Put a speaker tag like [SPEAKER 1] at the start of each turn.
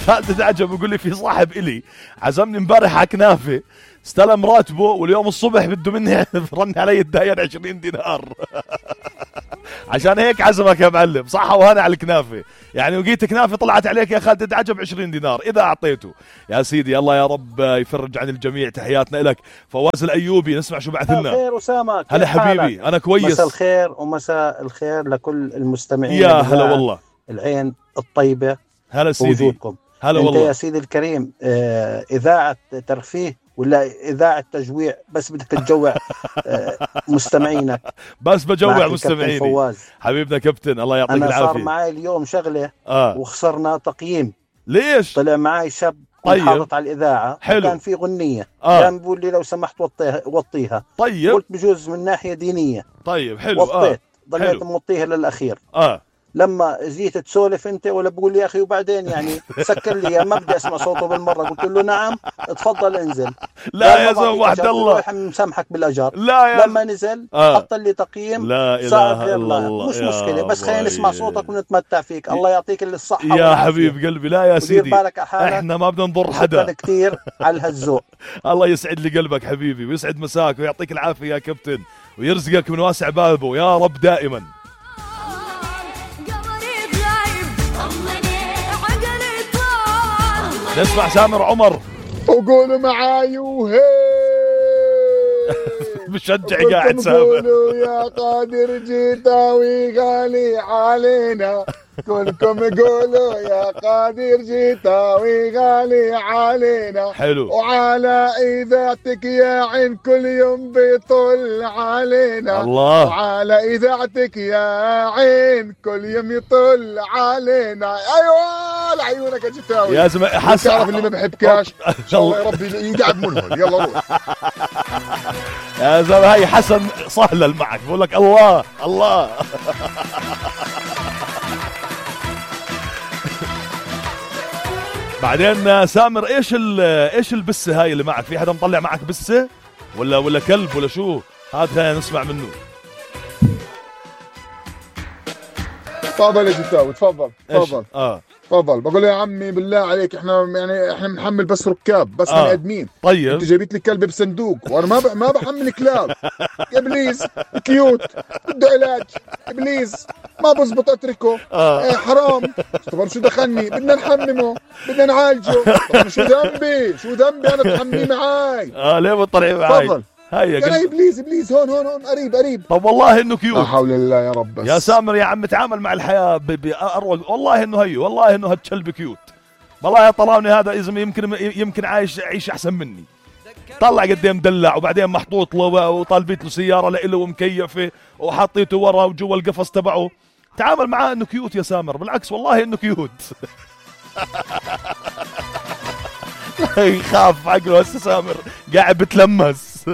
[SPEAKER 1] خالد عجب يقول لي في صاحب إلي عزمني امبارح على كنافة، استلم راتبه واليوم الصبح بده مني رن علي الداين 20 دينار. عشان هيك عزمك يا معلم. صح وهنا على الكنافة يعني، وقيت كنافة طلعت عليك يا خالد عجب 20 دينار إذا أعطيته. يا سيدي الله يا رب يفرج عن الجميع. تحياتنا لك فواز الأيوبي. نسمع شو بعث لنا.
[SPEAKER 2] خير أسامة،
[SPEAKER 1] هلا حبيبي أنا كويس.
[SPEAKER 2] مساء الخير ومساء الخير لكل المستمعين.
[SPEAKER 1] يا هلا والله.
[SPEAKER 2] العين الطيبة.
[SPEAKER 1] هلا سيدي.
[SPEAKER 2] وجودكم.
[SPEAKER 1] هلا
[SPEAKER 2] انت
[SPEAKER 1] والله
[SPEAKER 2] يا سيدي الكريم إذاعة ترفيه ولا إذاعة تجويع؟ بس بدك تجوع مستمعينك.
[SPEAKER 1] بس بجوع مستمعيني.
[SPEAKER 2] فواز
[SPEAKER 1] حبيبنا كابتن الله يعطيك العافية.
[SPEAKER 2] أنا صار معي اليوم شغلة وخسرنا تقييم.
[SPEAKER 1] ليش؟
[SPEAKER 2] طلع معي شاب حاطط على الإذاعة.
[SPEAKER 1] حلو.
[SPEAKER 2] كان في غنية كان بيقول لي لو سمحت وطيها.
[SPEAKER 1] طيب
[SPEAKER 2] قلت بجوز من ناحية دينية.
[SPEAKER 1] طيب حلو.
[SPEAKER 2] وطيت ضليت موطيها للأخير. لما جيت تسولف انت ولا بقول لي يا اخي وبعدين يعني سكر لي ما بدي اسمع صوته بالمره. قلت له نعم تفضل انزل.
[SPEAKER 1] لا يا زلمه وحد الله
[SPEAKER 2] مسامحك بالاجار.
[SPEAKER 1] لا يا
[SPEAKER 2] لما نزل حط لي تقييم.
[SPEAKER 1] لا اله الا الله.
[SPEAKER 2] مش مشكله بس خلينا نسمع صوتك ونتمتع فيك. الله يعطيك الصحه
[SPEAKER 1] يا حبيب قلبي. لا يا سيدي
[SPEAKER 2] بالك
[SPEAKER 1] احنا ما بدنا نضر حدا.
[SPEAKER 2] شكرا كثير على هالذوق.
[SPEAKER 1] الله يسعد لي قلبك حبيبي ويسعد مساك ويعطيك العافيه يا كابتن ويرزقك من واسع بابه يا رب دائما. نسمع سامر عمر.
[SPEAKER 3] وقولوا معاي وهي.
[SPEAKER 1] بشجع قاعد سامر.
[SPEAKER 3] قولوا يا قادر جيتاوي غالي علينا. كلكم قولوا يا قادر جيتاوي غالي علينا.
[SPEAKER 1] حلو.
[SPEAKER 3] وعلى إذاعتك يا عين كل يوم بيطل علينا.
[SPEAKER 1] الله.
[SPEAKER 3] وعلى إذاعتك يا عين كل يوم يطل علينا. أيوة لعيونك يا جيتاوي.
[SPEAKER 1] يا زلمة حسن
[SPEAKER 3] تعرف اللي ما بحبكاش الله يا ربي يقعد منهم. يلا روح
[SPEAKER 1] يا زلمة. هاي حسن صهلل معك بقول لك الله الله. بعدين سامر ايش البسه هاي اللي معك؟ في حدا مطلع معك بسه ولا كلب ولا شو؟ هذا خلينا نسمع منه.
[SPEAKER 3] تفضل يا جتاوي تفضل. تفضل. بقول يا عمي بالله عليك احنا بنحمل بس ركاب بس بني ادمين.
[SPEAKER 1] طيب
[SPEAKER 3] انت جايبت لي كلب بصندوق وانا ما بحمل كلاب. يا ابليس كيوت بده علاج. ابليس ما بزبط اتركه. حرام. طبعا شو دخلني؟ بدنا نحممه بدنا نعالجه. طبعا شو ذنبي انا تحمليه معاي؟
[SPEAKER 1] ليه بتطلعي معاي؟
[SPEAKER 3] تفضل.
[SPEAKER 1] هيا
[SPEAKER 3] يا ابليس هون قريب.
[SPEAKER 1] طب والله انه كيوت.
[SPEAKER 3] لا حول الله يا رب. بس
[SPEAKER 1] يا سامر يا عم تعامل مع الحياه باروق. والله انه والله انه هالكلب كيوت. والله يا طلعوني هذا اذا يمكن عايش احسن مني. طلع قدام دلع وبعدين محطوط له وطالبيت له سياره لإله ومكيفه وحطيته ورا وجوا القفص تبعه. تعامل معاه انه كيوت يا سامر. بالعكس والله انه كيوت. يخاف عقله هسه سامر قاعد بتلمس.